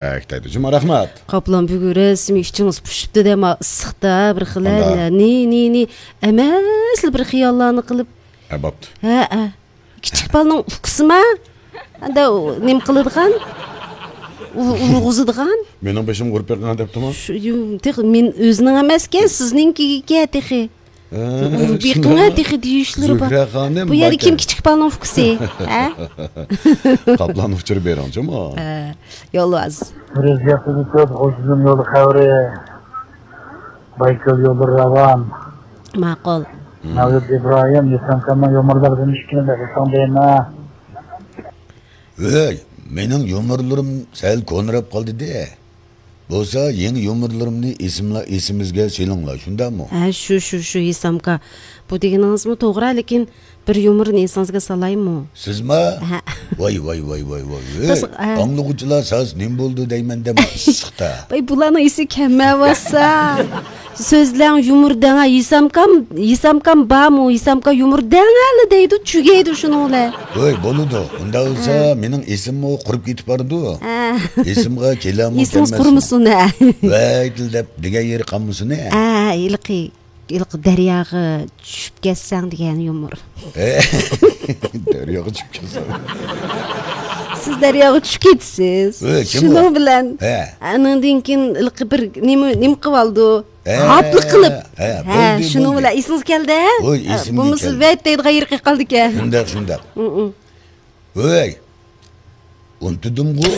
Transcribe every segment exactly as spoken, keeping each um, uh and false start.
ئەك دەيدۇ. جۇما، رەھمەت. قاپلان بۈگۈن رەسمىي ئىچىڭىز پۇشۇپتۇ دەم ئىسسىقتا بىر خىلە. قانداق؟ نى، نى، نى. ئەمەسلا بىر خىياللارنى قىلىپ. ھە، بوپتۇ. ھە، ھە. كىچىك بالىنىڭ ئۇكىسىما؟ ئەندە ئۇ نېمە قىلىدىغان؟ ئۇ-، ئۇرغۇزىدىغان؟ مېنىڭ بېشىمغا ئۇرۇپ بېقىڭ دەپتىمۇ؟ شۇ، يۇ-، تېخى مېن ئۆزىنىڭ ئەمەسكەن، سىزنىڭكىگە تېخى. ھە، ئۇرۇپ بېقىڭ تېخى دېيىشلىرى بار. زۆھرە خانىم، بۇ يەردە كىم كىچىك بالىنىڭ ئۇكىسى؟ ھە؟ قاپلان ئۇچۇرى بېرىڭچۇما؟ ھە، يولۋاس. بىر ئۆزگەرتىلگۈ كۆپ، غۇلجىدىن يول خەۋىرى. بايكۆل يولى راۋان. ماقۇل. مەۋلۇت ئىبراھىم، يېسەمكامنىڭ يۇمۇرلىرىدىن ئىككىنى بېرىسەڭ دەيمەن. ۋەي، مېنىڭ يۇمۇرلىرىم سەل كونىراپ قالدى-دە. بولسا يېڭى يۇمۇرلىرىمنى ئېسىملا-، ئېسىمىزگە سېلىڭلار، شۇنداقمۇ؟ ھە، شۇ، شۇ، شۇ، يېسەمكا. بۇ دېگىنىڭىزمۇ توغرا، لېكىن بىر يۇمۇرنى ئېسىڭىزگە سالايمۇ؟ سىزما؟ ھە. ۋاي، ۋاي، ۋاي، ۋاي، ۋاي. ئەي، بىز، ھە. ئاڭلىغۇچىلار ساز نېمە بولدى دەيمەن دەم ئىسسىقتا. ۋاي، بۇلارنىڭ ئېسى كەلمەيۋاتسا. سۆزلەڭ، يۇمۇر دەڭە، ھېسامكام، ھېسامكام بارمۇ؟ ھېسامكا يۇمۇر دەڭەلە دەيدۇ، چۈگەيدۇ شۇنىڭ بىلەن. ۋاي، بولىدۇ. ئۇنداق بولسا، ھە. مېنىڭ ئېسىممۇ قۇرۇپ كېتىپ بارىدۇ. ھە. ئېسىمغا كېلەرمۇ ئېسىڭىز كەلمەسمۇ؟ قۇرمىسۇن، ھە. ۋەي، دەپ دېگەن يېرى قالمىسۇن، ھە. ھە، ھېلىقى. ھېلىقى دەرياغا چۈشۈپ كەتسەڭ دېگەن يۇمۇر. دەرياغا چۈشۈپ كەتسەڭ. سىز دەرياغا چۈشۈپ كېتىسىز. ئۆي، كىم ئۇ؟ شۇنىڭ بىلەن. ھە. ئانىڭدىن كېيىن ھېلىقى بىر نېمە، نېمە قىلىۋالىدۇ؟ ھە، ھاپلا قىلىپ. ھە، ھە، بولدى، شۇنىڭ بولدى. بىلەن ئېسىڭىز كەلدى، ھە؟ ھوي، ئېسىمگە بولمىسا كەلدى. ۋەت دەيدىغان يېرى قېلىپ قالدىكەن. شۇنداق، شۇنداق. ئۇ، ئۇ. ھۆي، ئۇنتۇدۇمغۇ.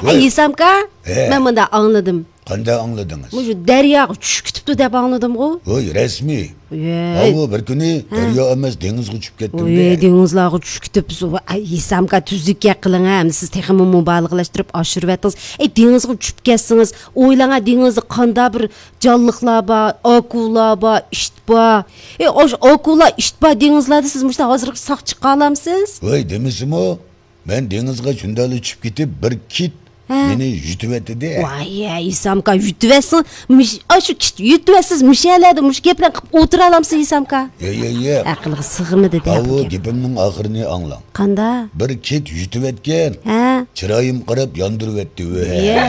ھەي، ھۆي. ھېسامكا، ھە. مەن مۇنداق ئاڭلىدىم. قانداق ئاڭلىدىڭىز؟ مۇشۇ دەرياغا چۈشۈپ كېتىپتۇ دەپ ئاڭلىدىمغۇ. ھۆي، رەسمىي. ھەي. ئاۋۇ بىر كۈنى ھە. دەريا ئەمەس، دېڭىزغا چۈشۈپ كەتتىم ھۆي، دە. دېڭىزلارغا چۈشۈپ كېتىپسىز. ۋاي، ھېسامكا، تۈزۈك گەپ قىلىڭ ھە. ئەمدى سىز تېخىمۇ مۇبالىغىلەشتۈرۈپ ئاشۇرۇۋەتتىڭىز. ئەي، دېڭىزغا چۈشۈپ كەتسىڭىز، ئويلاڭ ھە، دېڭىزدا قانداق بىر جانلىقلار بار، ئاكۇلا بار، ئىت بار. ئەي، ئاشۇ ئاكۇلا، ئىت بار دېڭىزلاردا سىز مۇشۇنداق ھازىرغىچە ساق چىقالامسىز؟ ۋاي، دېمىسىمۇ، مەن دېڭىزغا شۇنداقلا چۈشۈپ كېتىپ، بىر كىت ھە. مېنى يۇتۇۋەتتى-دە. ۋاي، ھە، ھېسامكا، يۇتۇۋەتسىڭ، مىش-، ئاشۇ كىت يۇتۇۋەتسىز، مۇشۇ يەرلەردە مۇشۇ گەپلەرنى قىلىپ ئولتۇرالامسىز، ھېسامكا؟ ياق، ياق، ياق. ئەقىلگە سىغمىدى-دە بۇ ئاۋۇ گەپ. گېپىمنىڭ ئاخىرىنى ئاڭلاڭ. قانداق؟ بىر كىت يۇتۇۋەتكەن. ھە. چىرايىم قاراپ ياندۇرۇۋەتتى، ۋە. يە.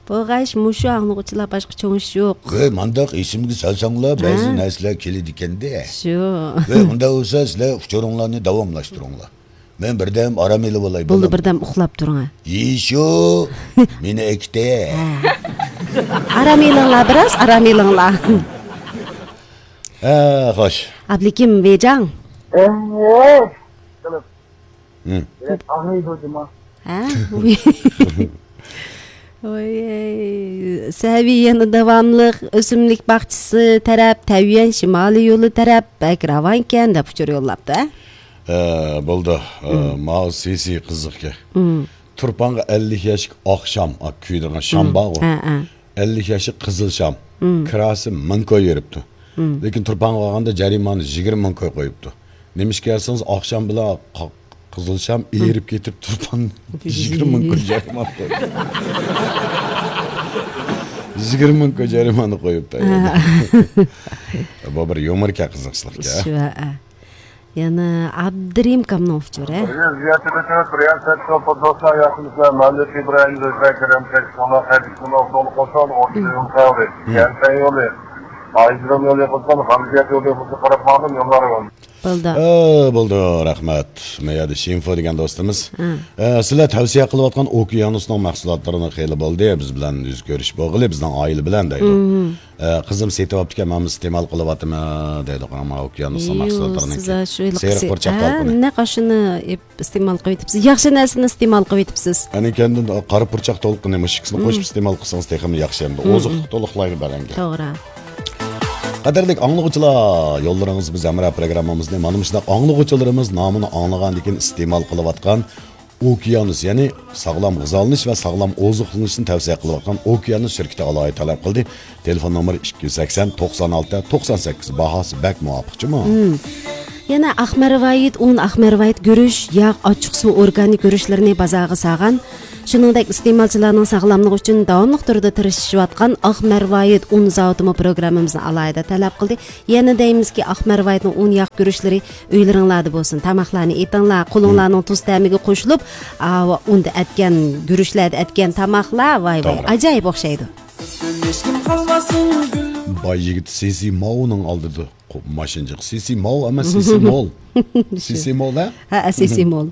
بولغاچ، مۇشۇ ئاڭلىغۇچىلار، باشقا چوڭ ئىش يوق. ۋەي، مانداق ئېسىمگە سالساڭلار، بەزى ھە. نەرسىلەر كېلىدىكەن-دە. شۇ. ۋەي، ئۇنداق بولسا، سىلەر ئۇچۇرۇڭلارنى داۋاملاشتۇرۇڭلار. مەن بىردەم ئارام ئېلىۋالاي، بولدى، بولدى. بىردەم ئۇخلاپ تۇرۇڭ، ھە. يېشۇ، مېنى ئەكېتە. ھە. ئارام ئېلىڭلار، بىراز ئارام ئېلىڭلار. ھە، خوش. ئابلىكىم ۋېجاڭ. ھە؟ ھە؟ ۋوي. سەۋىي يەنە داۋاملىق ئۆسۈملۈك باغچىسى تەرەپ، تەييۈەن شىمالىي يولى تەرەپ بەك راۋانكەن دەپ ئۇچۇر يوللاپتۇ، ھە؟ ھە، بولدى. ھە، ماۋۇ سىسى قىزىقكەن. تۇرپانغا ئەللىك ياشلىق ئاقشام، ئا، كۆيدۈرگەن شام بارغۇ. ھە، ھە. ئەللىك ياشلىق قىزىل شام. كىراسى مىڭ كوي بېرىپتۇ. لېكىن تۇرپانغا بارغاندا جەرىمانە يىگىرمە مىڭ كوي قويۇپتۇ. نېمىشقا دېسىڭىز، ئاقشام بىلەن ق-، قىزىل شام ئېرىپ كېتىپ، تۇرپان يىگىرمە مىڭ كوي جەرىمانە قويدى. يىگىرمە مىڭ كوي جەرىمانە قويۇپتۇ. بۇ بىر يۇمۇركەن، قىزىقچىلىقكەن. شۇ، ھە. يەنە ئابدۇرېھىم ئاكامنىڭ ئۇچۇرى. بىر يىل زىيارەت ئېتىپ، بىر يىل سەت يول پۇتبولچىلار ياخشىمۇسىلەر؟ مەملىكەت ئىبراھىم، زۆھرە كېرەم، تەكسىكۇللا، خەدىچۇللا، ئوغلى قوشان، ئورتا يول قەۋرى، يەنتەي يولى، ئايجىرىم يولى قىلسام، غەمزىيەت يولى قىلسا قاراپ ماڭدىم، يوللار يول. بولدى. ئە، بولدى، رەھمەت. مەيەدە شىنفو دېگەن دوستىمىز. ھە. ئە، سىلەر تەۋسىيە قىلىۋاتقان ئوكيانۇسنىڭ مەھسۇلاتلىرىنى خېلى بولدى بىز بىلەن يۈز كۆرۈش بولغىلى، بىزنىڭ ئائىلە بىلەن دەيدۇ. ئە، قىزىم سېتىۋاپتىكەن، مانا ئىستېمال قىلىۋاتىمەن دەيدۇ. قاراڭ، ماۋۇ ئوكيانۇسنىڭ مەھسۇلاتلىرىنى. سىز ھە، شۇ ھېلىقى سېرىق سېرىق پۇرچاق ھە، تالقىنى. نەق ئاشۇنى ئېپ-، ئىستېمال قىلىۋېتىپسىز. ياخشى نەرسىنى ئىستېمال قىلىۋېتىپسىز. ئەنە كەندىن قارا پۇرچاق تالقىنى مۇشۇ ئىككىسىنى قوشۇپ ئىستېمال قىلسىڭىز تېخىمۇ ياخشى ئەمدى. ئوزۇقلۇق تولۇقلايدۇ بەدەنگە. توغرا. قەدىرلىك ئاڭلىغۇچىلار، يوللىرىڭىز بىز ھەمراھ پروگراممىمىزنى مانا مۇشۇنداق ئاڭلىغۇچىلىرىمىز نامىنى ئاڭلىغاندىن كېيىن ئىستېمال قىلىۋاتقان ئوكيانۇس، يەنى ساغلام غىزالىنىش ۋە ساغلام ئوزۇقلىنىشنى تەۋسىيە قىلىۋاتقان ئوكيانۇس شىركىتى ئالاھىدە تەلەپ قىلدى. تېلېفون نومۇرى ئىككى يۈز سەكسەن، توقسان ئالتە، توقسان سەككىز، باھاسى بەك مۇۋاپىقچىمۇ؟ ھىم. يەنە ئاقمەرۋايىت ئۇن، ئاقمەرۋايىت گۈرۈچ، ياغ، ئاچچىقسۇ ئورگانىك گۈرۈچلىرىنى بازارغا سالغان شۇنىڭدەك ئىستېمالچىلارنىڭ ساغلاملىقى ئۈچۈن داۋاملىق تۈردە تىرىشىشىۋاتقان ئاق مەرۋايىت ئۇن زاۋۇتىمۇ پروگراممىمىزنى ئالاھىدە تەلەپ قىلدى. يەنە دەيمىزكى، ئاق مەرۋايىتنىڭ ئۇن ياغ گۈرۈچلىرى ئۆيلىرىڭلاردا بولسۇن. تاماقلارنى ئېتىڭلار، قولۇڭلارنىڭ تۇز تەمىگە قوشۇلۇپ، ئاۋۇ ئۇندا ئەتكەن، گۈرۈچلەردە ئەتكەن تاماقلار، ۋاي ۋاي، توغرا. ئاجايىپ ئوخشايدۇ. باي يىگىت سىسى ماۋنىڭ ئالدىدا قو-، ماشىنىچىق. سىسى ماۋ ئەمەس، سىسى مول. سىسى مول، ھە؟ ھە، سىسى مول.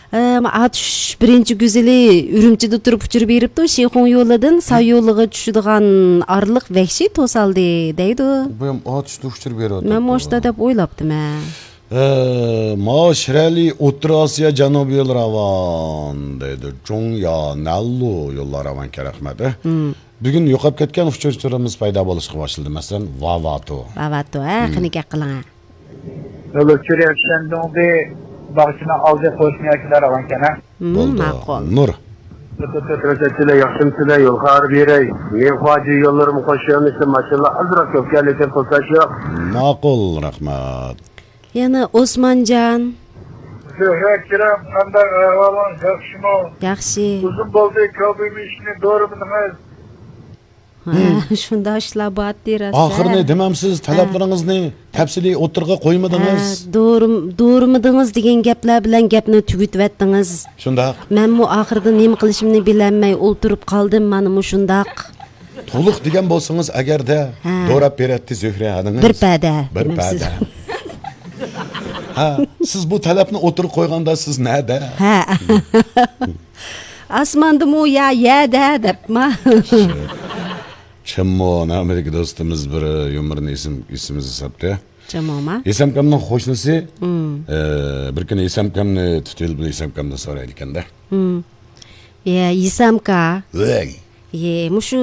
ئەم، ئاتۇش بىرىنچى گۈزىلى ئۈرۈمچىدە تۇرۇپ ئۇچۇر بېرىپتۇ. شىخۇڭ يولىدىن ساي يولىغا چۈشىدىغان ئارىلىق ۋەھشىي توسالدى، دەيدۇ. بۇ ھەم ئاتۇشتا ئۇچۇر بېرىۋاتىدۇ. مەن مۇشۇنداق دەپ ئويلاپتىمەن. ئە، ما شىرەلى ئوتتۇرا ئاسىيا جەنۇبىي يول راۋان، دەيدۇ. جۇڭيا نەنلۇ يوللار راۋانكەن، رەھمەت. ئە. بۈگۈن يوقاپ كەتكەن ئۇچۇرچىلىرىمىز پەيدا بولۇشقا باشلىدى. مەسىلەن، ۋاۋاتو. ۋاۋاتو، ھە، قېنى گەپ قىلىڭ، ھە. ئۇچۇر شەندۇڭدى باغچىنىڭ ئالدى قوشنا ياكىلار راۋانكەن، ھە. بولدى. ماقۇل. نۇر. تۆت تۆت رەسەتچىلەر، ياخشىمۇسىلەر؟ يول خاراب يېرەي. مېنىڭ خۇاجى يوللىرىمۇ قوشۇلمىسا، ماشىنىلار ئازراق كۆپ كەلدى، لېكىن توساش يوق. ماقۇل، رەھمەت. يەنە ئوسمانجان. زۆھرە ئاكىرام، قانداق ئەھۋالىڭىز، ياخشىمۇ؟ ياخشى. ئۇزۇن بولدى، كاۋبوي مېشىنى دورىمىدىڭىز؟ ھە، شۇنداق ئىشلار بارتى، راست. ئاخىرىنى دېمەمسىز، ھە. تەلەپلىرىڭىزنى تەپسىلىي ئوتتۇرىغا قويمىدىڭىز. ھە، دورىم-، دورىمىدىڭىز دېگەن گەپلەر بىلەن گەپنى تۈگىتىۋەتتىڭىز. شۇنداق. مەنمۇ ئاخىرىدا نېمە قىلىشىمنى بىلەلمەي ئولتۇرۇپ قالدىم، مانا مۇشۇنداق. تولۇق دېگەن بولسىڭىز ئەگەردە، ھە. دوراپ بېرەتتى زۆھرە خانىمىز. بىر پەدە، بىر پەدە. ھە، سىز بۇ تەلەپنى ئوتتۇرىغا قويغاندا سىز نەدە؟ ھە. ئاسماندىمۇ يا يەدە دەپما. چىممۇ، ئامېرىكا دوستىمىز بىر يۇمۇرنى ئېسىم-، ئېسىمىزگە ساپتى. چىممۇما؟ ھېسامكامنىڭ قوشنىسى، مم. ئە، بىر كۈنى ھېسامكامنى تۇتۇۋېلىپ، ھېسامكامدىن سورايدىكەن-دە. مم. يە، ھېسامكا. ۋەي. يە، مۇشۇ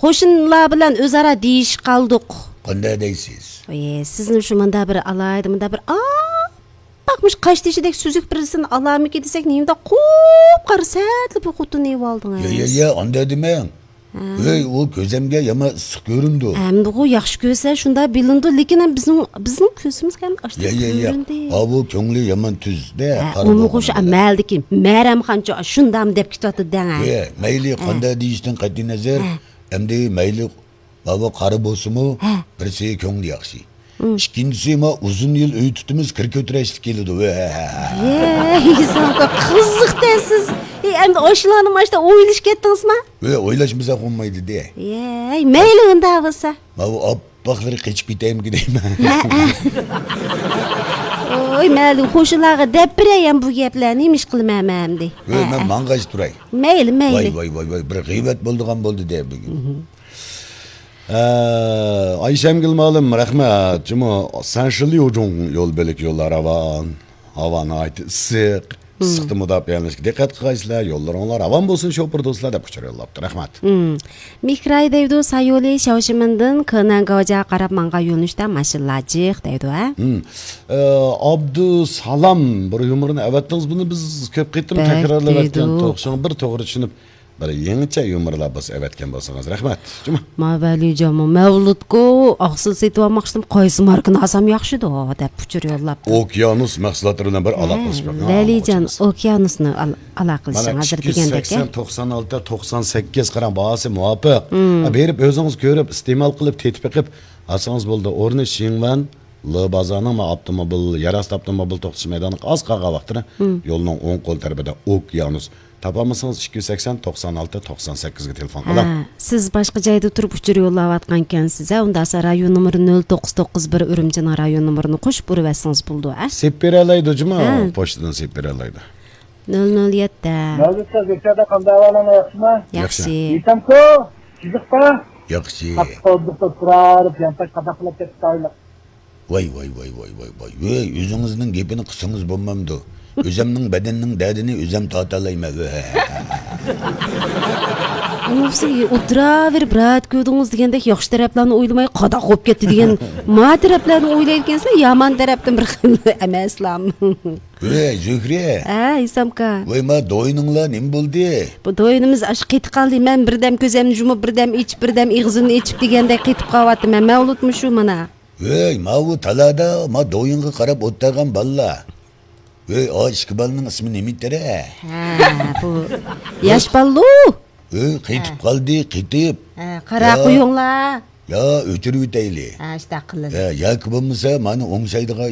قوشنىلار بىلەن ئۆزئارا دېيىشىپ قالدۇق. قانداق دەيسىز؟ يە، سىزنى شۇ مۇندا بىر ئالاھىدە، مۇندا بىر ئاپئاق مۇشۇ قاشتېشىدەك سۈزۈك بىرسىنى ئالامىكىن دېسەك، نېمىدا قۇپقارا سەتلا بىر خوتۇن ئېۋالدىڭىز. يە، يە، يە، ئانداق دېمەڭ. ھە. ۋەي، ئۇ كۆزەمگە يامان ئىسسىق كۆرۈندى. ئەمدىغۇ ياخشى كۆرسە شۇنداق بىلىنىدۇ، لېكىن ھەم بىزنىڭ، بىزنىڭ كۆزىمىزگە ھەم ئاشۇنداق يە، يە، يە. كۆرۈندى. ھا، بۇ كۆڭلى يامان تۈز-دە، ھە، قارا ئۇمۇ بولغان خوش، بىلەن. مەلىكىم، مەرەمخانچۇ، شۇنداقمۇ دەپ كېتىۋاتىدۇ دەڭ، ھە. يە، مەيلى ھە. قانداق دېيىشتىن قەتئىي نەزەر، ھە. ئەمدى مەيلى ماۋۇ قارا بولسىمۇ، ھە. بىرسى كۆڭلى ياخشى. مم. ئىككىنچىسى، ما ئۇزۇن يىل ئۆي تۇتىمىز، كىر كۆتۈرەشلىك كېلىدۇ. ۋە. يەي، ساڭا قىزىق دەيسىز. ئەي، ئەمدى ئاشۇلارنى ماشتا ئويلىشىپ كەتتىڭىزما؟ ۋە، ئويلاشمىساق بولمايدۇ دە. يەي، مەيلى ئۇنداق بولسا. ماۋۇ ئاپئاقلىرى قېچىپ كېتەيمىكىن دەيمەن. ھە، ھە. ۋوي، مەلۇم، قوشنىلارغا دەپ بېرەي ھەم بۇ گەپلەرنى، نېمە ئىش قىلىمەن مەن ئەمدى؟ ۋە، ھە، مەن ھە. ماڭغاچ تۇراي. مەيلى، مەيلى. ۋاي، ۋاي، ۋاي، ۋاي، بىر غەيۋەت بولىدىغان بولدى دە بۈگۈن. ئە، ئايشەمگۈل مۇئەللىم، رەھمەت. جۇمۇ، سەنشىليۇجۇڭ يول بۆلەك يوللار راۋان. ھاۋا ناھايىتى ئىسسىق. مم. ئىسسىقتىن مۇداپىئەلىنىشكە دىققەت قىلغايسىلەر. يوللىرىڭلار راۋان بولسۇن، شوپۇر دوستلار، دەپ ئۇچۇر يوللاپتۇ. رەھمەت. مم. مىكراي دەيدۇ، سايولى شياۋشىمىندىن كېنەن گاۋجياغا قاراپ ماڭغان يۆنىلىشتە ماشىنىلار جىق دەيدۇ، ھە؟ مم. ئە، ئابدۇسالام بىر يۇمۇرنى ئەۋەتتىڭىز، بۇنى بىز كۆپ قېتىم بەك تەكرارلىۋەتكەن دېدۇق. شۇڭا بىر توغرا چۈشىنىپ، بىر يېڭىچە يۇمۇرلار بولسا ئەۋەتكەن بولسىڭىز. رەھمەت. جۇمۇ. ما ۋەلىجانمۇ مەۋلۇتقۇ ئاقسىل سېتىۋالماقچىدىم، قايسى ماركىنى ئالسام ياخشىدۇ دەپ ئۇچۇر يوللاپتۇ. ئوكيانۇس مەھسۇلاتلىرى بىلەن بىر ھە، ئالاقىلىشىپ بېقىڭ، ۋەلىجان ئاڭلىغۇچىمىز. ئوكيانۇسنى ئال-، ئالاقىلىشىڭ مانا ھازىر ئىككى يۈز سەكسەن، دېگەندەك، ھە؟ توقسان ئالتە، توقسان سەككىز قاراڭ، باھاسى مۇۋاپىق. مم. ھە، بېرىپ ئۆزىڭىز كۆرۈپ، ئىستېمال قىلىپ، تېتىپ بېقىپ ئالسىڭىز بولىدۇ. ئورنى شىڭۋەن، لې بازارنىڭ ما ئاپتوموبىل، يەر ئاستى ئاپتوموبىل توختىتىش مەيدانىغا ئاز قالغان ۋاقتىدا مم. يولنىڭ ئوڭ قول تەرىپىدە ئوكيانۇس. تاپالمىسىڭىز، ئىككى يۈز سەكسەن، توقسان ئالتە، توقسان سەككىزگە تېلېفون قىلىڭ. ھە، سىز باشقا جايدا تۇرۇپ ئۇچۇر يوللاۋاتقانكەنسىز، ھە؟ ئۇنداقسا رايون نومۇرى نۆل توققۇز توققۇز بىر ئۈرۈمچىنىڭ رايون نومۇرىنى قوشۇپ ئۇرۇۋەتسىڭىز بولىدۇ، ھە؟ سېلىپ بېرەلەيدۇ جۇمۇ، ھە. پوچتىدىن سېلىپ بېرەلەيدۇ. نۆل نۆل يەتتە. مەۋلۇت ساز، ئۆتكەندە قانداق ئەھۋالىڭلار، ياخشىما؟ ياخشى. ياخشى. يېتەمكۇ؟ جىزىقتا؟ ياخشى. قاتتىق قورقۇپ تۇرۇپ، يانتاش قاداق قىلىپ كەتتى ئايلىق. ۋاي، ۋاي، ۋاي، ۋاي، ۋاي، ۋاي. ۋەي، ئۆزىڭىزنىڭ گېپىنى قىلسىڭىز بولمامدۇ؟ ئۆزەمنىڭ بەدەننىڭ دەردىنى ئۆزەم تارتالايمەن. ۋەي. ئۇنىسى ئولتۇراۋېرىپ راھەت كۆردىڭىز دېگەندەك ياخشى تەرەپلەرنى ئويلىماي قاداق بولۇپ كەتتى دېگەن ما تەرەپلەرنى ئويلايدىكەنسىلەر، يامان تەرەپتىن بىر خىل ئەمەسلام. ۋەي، زۆھرە. ھە، ھېسامكا. ۋەي، ما دوينۇڭلار نېمە بولدى؟ بۇ دوينىمىز ئاشۇ قېتىپ قالدى. مەن بىردەم كۆزەمنى يۇمۇپ، بىردەم ئېچىپ، بىردەم ئېغىزىمنى ئېچىپ دېگەندەك قېتىپ قالىۋاتىمەن. مەۋلۇتمۇ شۇ مانا. ۋەي، ماۋۇ تالادا ما دويۇنغا قاراپ ئولتۇرغان بالىلار. ۋەي، ئا ئىككى بالىنىڭ ئىسمى نېمىتىرە؟ ھە، بۇ ياش بالىلۇ. ۋەي، قېتىپ ھە. قالدى، قېتىپ. ھە، قارا يا. قويۇڭلار. يا، ئۆچۈرۈۋېتەيلى. ھە، شۇنداق قىلىڭ. ھە، ياكى بولمىسا، مانا ئوڭشايدىغان